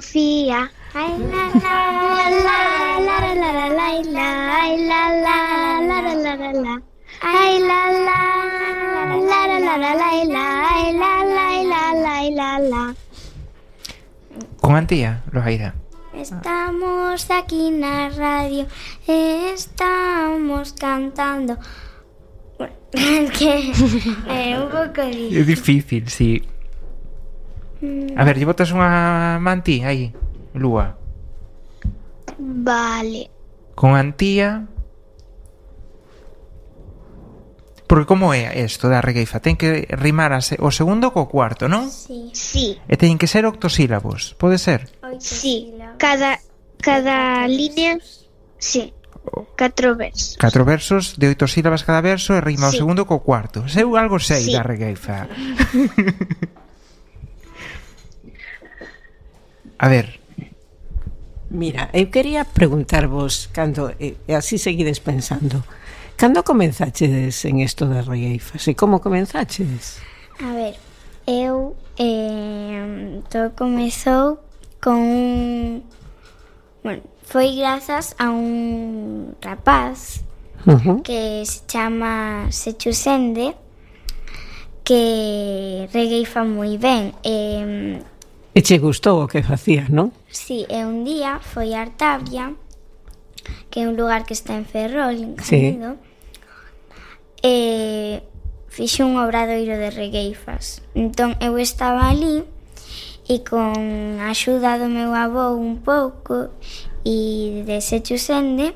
Sofía. Ay la la la la la la la la la ay la la la la la la la ay la la la la la la la ay la la la. Con Antía, Loaira. Estamos aquí na radio, estamos cantando. Que é un pouco difícil. É difícil, sí. A ver, lle botas unha mantí aí, Lúa. Vale. Con Antía. Porque como é isto da regueifa? Ten que rimar o segundo co cuarto, non? Sí. Sí. E teñen que ser octosílabos, pode ser? Sí. Cada línea, sí. 4 versos. 4 versos de 8 sílabas cada verso e rima o Sí. segundo co cuarto. Eu algo sei Sí. da regueifa. A ver. Mira, eu quería preguntarvos cando, e así seguides pensando, cando comenzachedes en isto das regueifas e como comenzachedes? A ver, eu todo comezou con un... Bueno, foi grazas a un rapaz que se chama Sechu Sende, que regueifa moi ben. E che gustou o que facías, non? Sí, e un día foi a Artabia, que é un lugar que está en Ferrol, en Sí. Canido, e fixe un obradoiro de regueifas. Entón, eu estaba ali e con a axuda do meu avó un pouco e de Sechu Sende,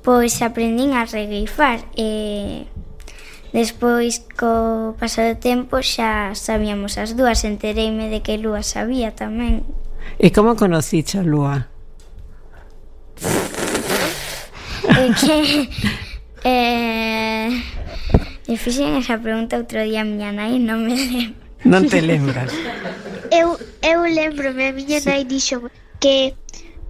pois aprendín a regueifar e despois co paso do tempo xa sabíamos as dúas, entereime de que Lúa sabía tamén. E como conociche a Lúa? Que me fixen esa pregunta outro día a miña nai, non me lembro. Non te lembras? Eu lembro-me, a miña nai dixo que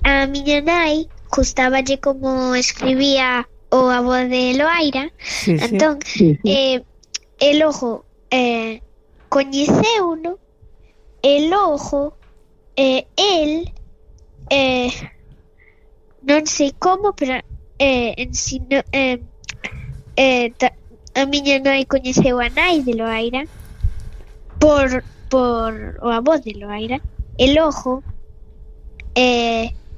a miña nai gustaballe como escribía o avó de Loaira, Sí, sí. entón e logo coñeceuno e logo el non sei como, pero ensino, a miña nai coñeceu a nai de Loaira por o avó de Loaira e logo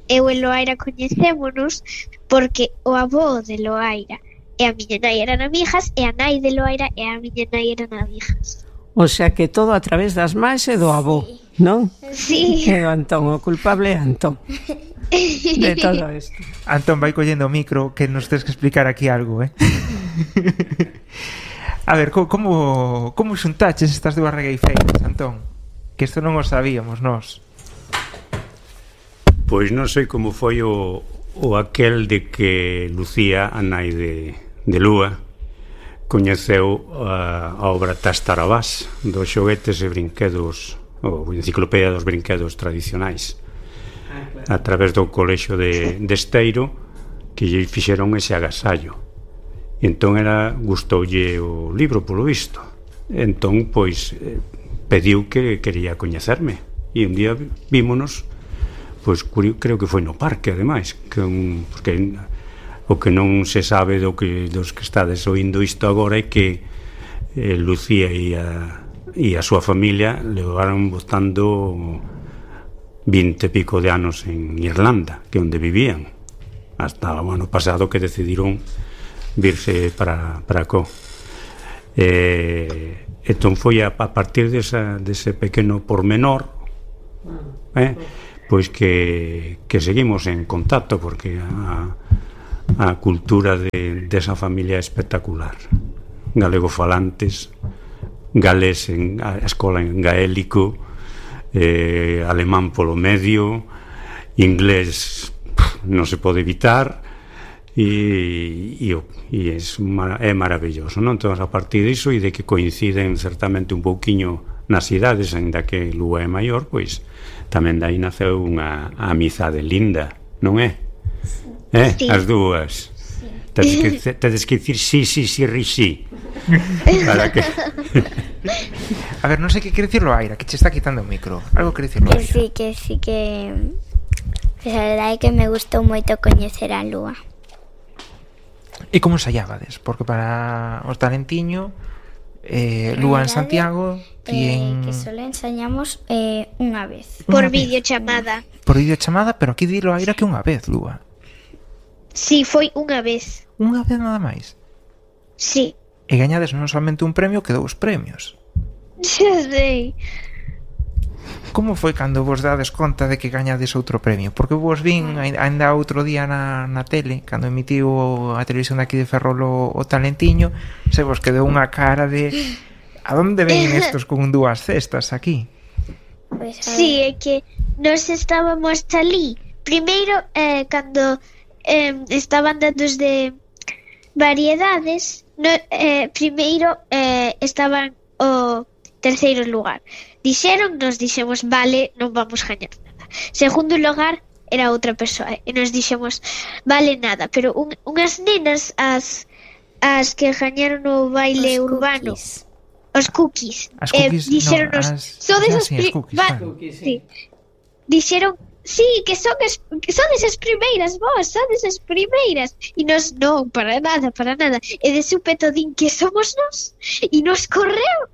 eu e Loaira coñecémonos porque o avó de Loaira e a miña nai eran amigas e a nai de Loaira e a miña nai eran amigas. O sea que todo a través das máis e do avó, non? Sí. E do Antón, o culpable é Antón de todo isto. Antón vai collendo o micro que nos tens que explicar aquí algo, A ver, como xuntaches estas dúas regueifeiras, Antón? Que isto non o sabíamos nós. Pois non sei como foi o aquel de que Lucía, a nai de Lúa, coñeceu a obra Tastarabás dos xoguetes e brinquedos, ou enciclopedia dos brinquedos tradicionais, a través do colexio de Esteiro, que lle fixeron ese agasallo. Entón gustoulle o libro, polo visto. Entón, pois, pediu que quería coñecerme. E un día vímonos, pois creo que foi no parque, ademais, porque o que non se sabe dos que estades oindo isto agora é que Lucía e a súa familia levaron botando 20 e pico de anos en Irlanda, que é onde vivían, hasta o ano pasado que decidiron virse para co. Entón foi a partir dese pequeno pormenor pois que seguimos en contacto, porque a cultura desa familia é espectacular. Galegofalantes, galés a escola en gaélico, alemán polo medio, inglés non se pode evitar, e é maravilloso, non? Entón, a partir disso e de que coinciden certamente un pouquiño nas idades, ainda que Lúa é maior, pois tamén dai naceu unha amizade linda, non é? Sí. As dúas. Sí. Tedes que dicir sí, para que A ver, non sei que quere dicirlo Aira, que che está quitando o micro. Algo quere dicirlo Aira. Que sí que... Pues a verdade é que me gustou moito coñecer a lúa. E como ensaiábades? Porque para os talentiño, lúa en Santiago, Que solo ensañamos unha vez. Por videochamada. Por videochamada, pero aquí dilo Aira que unha vez, lúa. Sí, foi unha vez. Unha vez nada máis. Sí. E gañades non somente un premio, que 2 premios. Xa sei. Como foi cando vos dades conta de que gañades outro premio? Porque vos vin ainda outro día na tele, cando emitiu a televisión de aquí de Ferrol o Talentiño, se vos quedou unha cara de a onde ven estos con 2 cestas aquí? Pues, Sí, é que nos estábamos alí. Primeiro, cando estaban dados de variedades, primeiro estaban o terceiro lugar. Nos dixemos, vale, non vamos gañar nada. Segundo lugar era outra persoa e nos dixemos, vale nada, pero unhas nenas as que gañaron o baile urbano, os cookies, dixeronnos, sodes as dixeron, sí, que sodes as primeiras, vos, sodes as primeiras. E nos, non, para nada. E de súpeto din que somos nós. E nos correu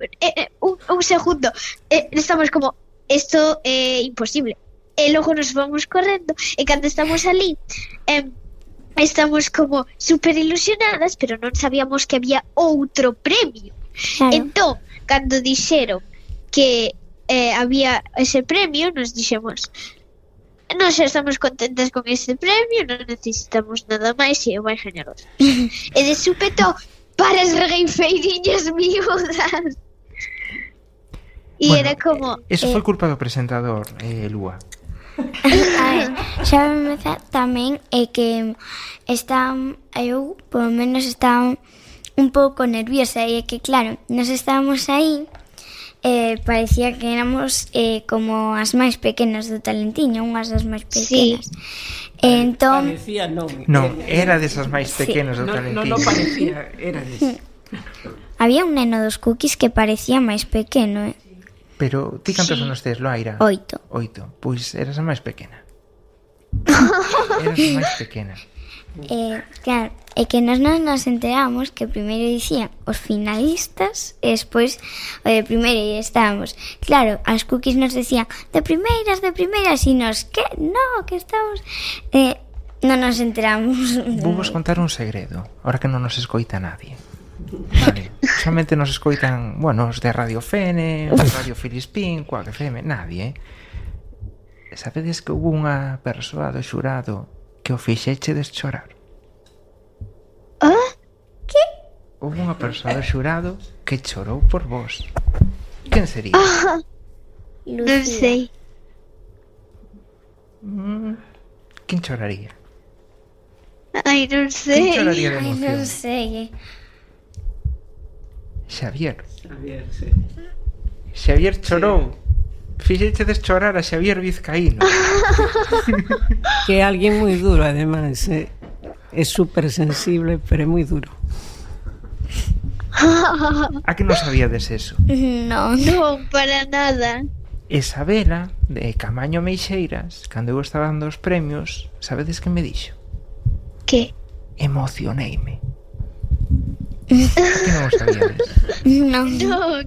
un segundo. Estamos como, esto é imposible. E logo nos vamos correndo. E cando estamos ali, estamos como super ilusionadas, pero non sabíamos que había outro premio. Claro. Entón, cando dixeron que había ese premio, nos dixemos, nós xa estamos contentas con ese premio, non necesitamos nada máis e eu vai gañar outro. E de súpeto, para as regueifeiriñas miúdas. E Bueno, era como... Eso foi culpa do presentador, Lúa. A ver, xa me tamén é que eu, polo menos, estaba un pouco nerviosa. E é que, claro, nos estábamos aí, parecía que éramos como as máis pequenas do Talentiño, unhas das máis pequenas. Entón, Parecía Non, era desas máis pequenas do Talentiño. Non parecía, era des. había un neno dos cookies que parecía máis pequeno, Pero ti cantos anos tes, Loaira? 8. Pois eras a máis pequena. Eras a máis pequena. Claro, é que nos enteramos que primeiro dicían os finalistas e despois o de primeiro e estábamos. Claro, as cookies nos decían de primeiras e nos, que? No, que estamos... non nos enteramos. Vou vos contar un segredo, ahora que non nos escoita nadie. Vale, solamente nos escoitan, bueno, os de Radio Fene, os de Radio Filispín, Cuac FM, nadie, Sabedes que hubo unha persoa do xurado que o fixechedes chorar? Que? Houve unha persoa do xurado que chorou por vos. Quen sería? Non sei. Quen choraría? Ai, non sei. Quen choraría de Ai, emoción? non sei. Xavier. Xavier, sí. Xavier chorou. Fixechedes chorar a Xavier Vizcaíno. Que é alguén moi duro, ademais. É super sensible, pero é moi duro. A que non sabíades eso? Non. Non, para nada. Isabela, de Camaño Meixeiras, cando eu estaba dando os premios, sabedes que me dixo? Que? Emocioneime. Que non o sabíades? Non. Non.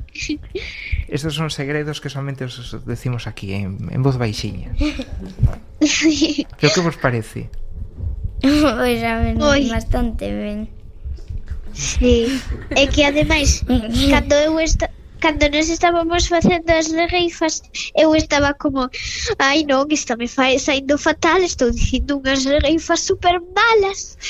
Estos son segredos que solamente os decimos aquí en voz baixiña. Pero que vos parece? Pois a ver, Oi. bastante ben. Sí. É que ademais, cando nos estábamos facendo as regueifas, eu estaba como, ai non, isto me fai saindo fatal, estou dicindo unhas regueifas super malas.